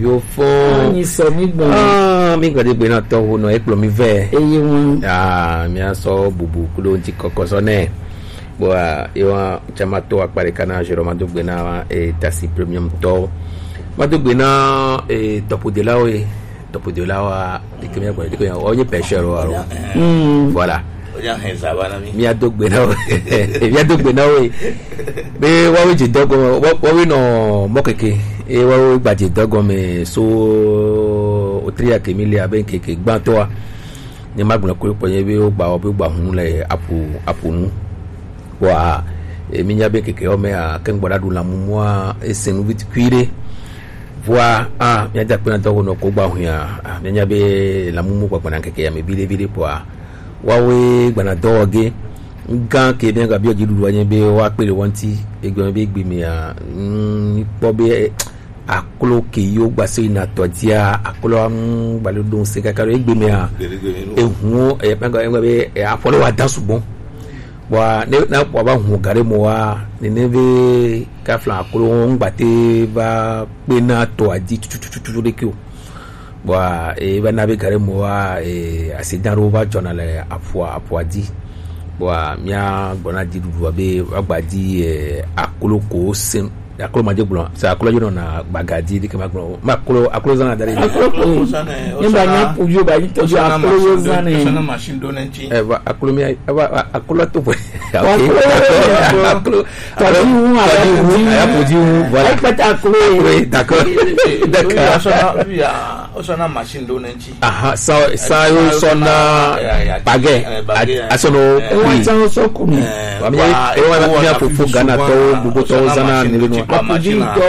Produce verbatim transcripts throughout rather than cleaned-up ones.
Yo fo. Anyi sɔ mi gbɔn. Ah, mi gbade gbe na tɔ wo nɔ ekplɔ mi vɛ. Eye wọn. Ah, mi asɔ bubu kudo ŋti kɔkɔ sɔ nɛ. Bɔa, ewa chama to akpari kana jero ma do gbe na e tasi premium to. Ma do gbe na e tɔpodelawo ye. Tɔpodelawo a dike mi gbɔn dike ya. O nye pêcheur wa ro. Mm. Voilà. Oya hɛn zaba na mi. Mia do gbe na wo. Mia do gbe na wo. Be wawe je dogo, wawe no mokeke. E wawe gba je dogo me so otria ke mi le abe keke gbanto a. Ni ma gbɔn ko ko ye be o gba o be gba hun le apu apu nu. Wa e mi nya be keke o me a ke gbɔda du la mumu a e senu vit kuire. Vɔa a mia ja kpena dogo no ko gba hun a. A mia nya be la mumu gba gbɔna keke ya me bile bile po a. Wawe gbana dɔwɔ ge. Ŋgã ke be ŋgã biɔ dziɖuɖu anye be woakpe ɖe wɔnti egbe be egbe mea, mm, kpɔ be aklo ke yo gbase yina tɔ dzia, aklo ŋu gbale ɖo ŋse kaka ɖo egbe mea. Ehuwo e pɛngɔ egbe be e afɔle wa da sugbɔ. Bɔa ne na kpɔ ba hu gare mo wa nene be kafla aklo ŋgbate ba kpe na tɔ adzi tutututu ɖe ke o. Bɔa e va na be gare mo wa e accident ɖewo va dzɔna le aƒua aƒua dzi. Bɔa mia gbɔna dziɖuɖua be woagba di e aklo ko se aklo ma dze gblɔ se aklo dzi nɔna gbaga di dike ma gblɔ ma aklo aklo zana da ɖe. Aklo ko ne ba nya ƒodzo ba yi tɔdzo aklo yo zana. Eva aklo mi eva aklo to ƒe. Aklo aklo tɔdzi wu tɔdzi wu aya ƒodzo wu voilà. Ekpɛtɛ aklo. D'accord. D'accord. Osɔna machine ɖo ne ŋti. Aha, sa sa yo sɔna bagɛ asɔnɔ. Ewa tsa wo sɔ ku mi. Wa mi ewa mi afofo Ghana tɔwo gbogbo tɔwo zana ne be nua. Akudzi tɔ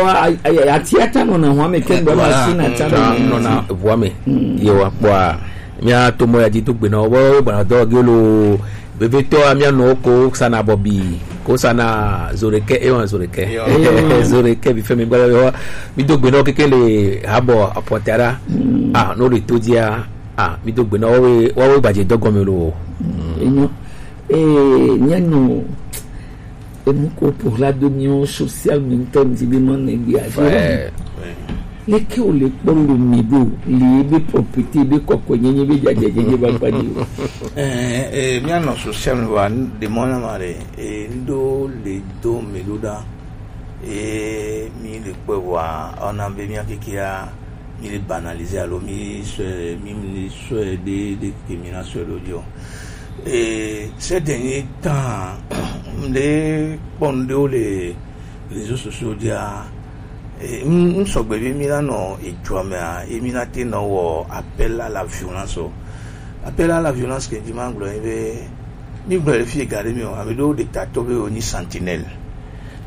ati ata nɔ na hɔn me ke gbɔ machine ata nɔ na ʋua me. Yewa kpɔa mia to mɔ ya dzi do gbe na wo be gbana dɔ ge lo. Vevetɔ mia nɔ ko sana bɔbi ko sana zoreke ewa zoreke. Zoreke bi fɛn mi gbala wa mi do gbe na wo keke le habɔ apɔtara. Ah, no le to dia. Ah, mi do gbe na wo we wa we gbaje dɔgɔme lo. Enyo. Eh, mia nɔ enu ko ƒo la do mio social media ŋti be ma ne gbia dzi. Leke wòle kpɔ lo mi ɖo le ebe propriété be kɔkɔenyenye be dzadzadzedze va kpa dzi o? Eh, eh, míanɔ social media ɖe mɔ na ma ɖe eh, ŋɖo le do mi ɖo ɖa eh, mi le kpɔe vɔa ɔna be mía kekeya mi le banaliser alo mi sɔe mi mi sɔe ɖe ɖe ke mi na sɔe ɖo dzi o. Eh, ces derniers temps, m ɖe kpɔ ŋɖewo le réseaux sociaux dzia, eh, m m sɔgbe be mi la nɔ edua mea, ye mi na te nɔ wɔ appel à la violence o. Appel à la violence ke dzi ma gblɔ ye be mi gblɔ le fi ga ɖe mi o, ame ɖewo ɖe ta to be wo nyi sentinelle.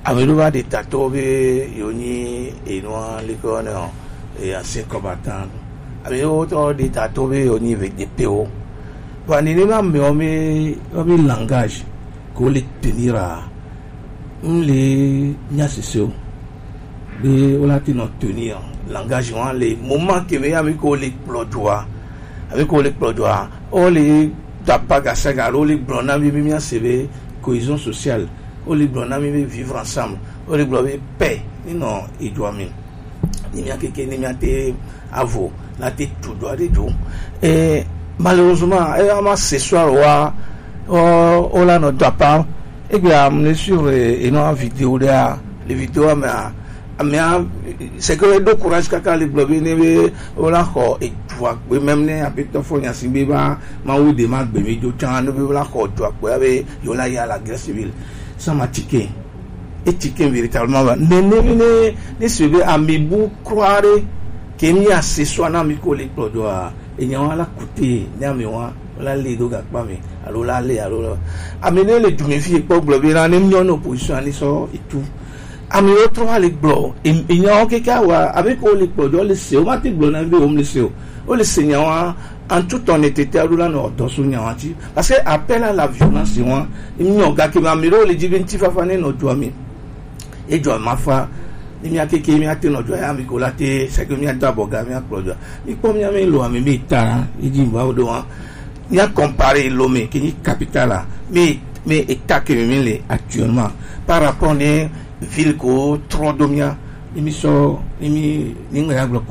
Ame ɖewo va ɖe ta to be yo nyi enua le ko ne o, e ancien combattant. Ame ɖewo tɔ ɖe ta to be yo nyi V D P o. Bon, nenema amewo mi wo mi langage ko le tenir a. M le nya sese o. Be wola te nɔ tenir langage wan le moment ke be ami ko le kplɔ dua. Ami ko le kplɔ dua. O le tapa gasaga alo le gblɔ na mi mi mi ase be cohésion sociale. O le gblɔ na mi be vivre ensemble. O le gblɔ be paix ni nɔ edua mi. Ni mia keke ni mia te avo na te tu dua de jo. Eh, malheureusement, eh, ama ce soir wa o o la no tapa. Egbea m le suivre eno vidéo ɖea le vidéo mea amea c'est que do courage kaka le gblɔ be ne be wola xɔ edua gbe même ne aƒetɔ fɔ nya si be va mawu de ma gbe mi do tsã ne be wola xɔ edua gbe be yewola ya la guerre civile sans ma ticket et ticket véritablement va ne ne ne ne se be ami bu croire ke mi ase so na mi ko le kplɔ doa enyawo la kute ne ami wa la le do gakpa me alo la le alo la ame ne le du mi fi kpɔ gblɔ be na ne nyɔ no position ani sɔ etu ame wo trɔ va le gblɔ enyawo keke awa abe ko le kplɔ do le se o ma te gblɔ na be o le se o o le se nyawa en toute honnêteté alo la no dɔ so nyawa ti parce que appel à la violence wa nyɔ gake ma mi ro le dzi be nti fafa ne no do ami Ejɔ ma fa ni mía keke mía te nɔ jɔ ya mi ko la te c'est que mía do abɔ ga mía kplɔ jɔ mi kpɔ mía mi lo ame mi ta na edzi va wo do wa mía comparer Lomé ke nyi capitale la mi mi état ke mi le actuellement par rapport ne ville ko trɔ do mía ni mi sɔ ni mi ni ŋgbe ya gblɔ ko